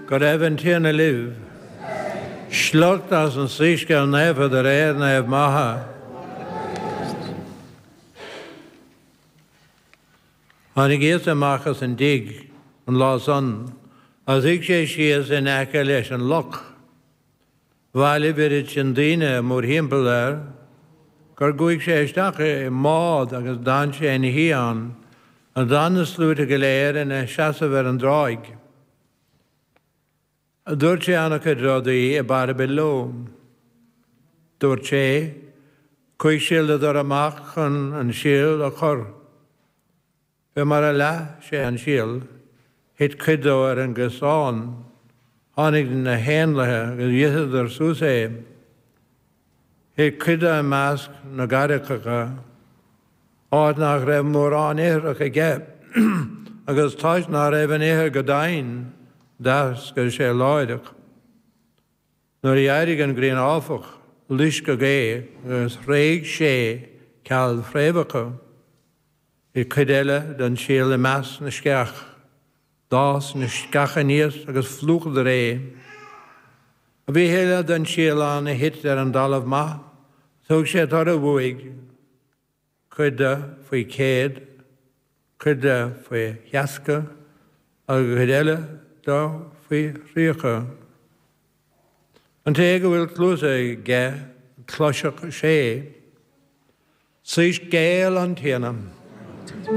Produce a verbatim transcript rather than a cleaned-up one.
Go raibh an Tiarna libh. Sliocht as an Soiscéal Naofa de réir Naomh Matha. Tháinig Íosa amach as an dtigh an lá san agus shuigh sé síos in aice leis an loch. Bhailigh oiread sin daoine mórthimpeall air gur chuaigh sé isteach i mbád agus d'fhan sé ina shuí ann, agus d'fhan na sluaite go léir ina seasamh ar an dtráigh. Dúirt sé an-chuid rudaí i bparabail leo. Dúirt sé, Chuaigh síoladóir amach chun an síol a chur. Fé mar a leath sé an síol, thit cuid dó ar an gcosán, tháinig na héanlaithe agus d'itheadar suas é. Thit cuid de i measc na gcarraigeacha, áit nach raibh mórán ithreach aige, agus toisc nach raibh an ithir go domhain, d'eascair sé láithreach. Nuair a d'éirigh an ghrian áfach, loisceadh é agus thréig sé ceal fréamhacha. Thit cuid eile den síol i measc na sceach. D'fhás na sceacha aníos agus phlúchadar é. Bhí a thuilleadh den síol ann a thit ar an dtalamh maith, thug sé toradh uaidh, cuid de faoi chéad, cuid de faoi sheasca agus cuid eile de faoi thríocha. An té go bhfuil cluasa aige, cloiseadh sé. Soiscéal an Tiarna.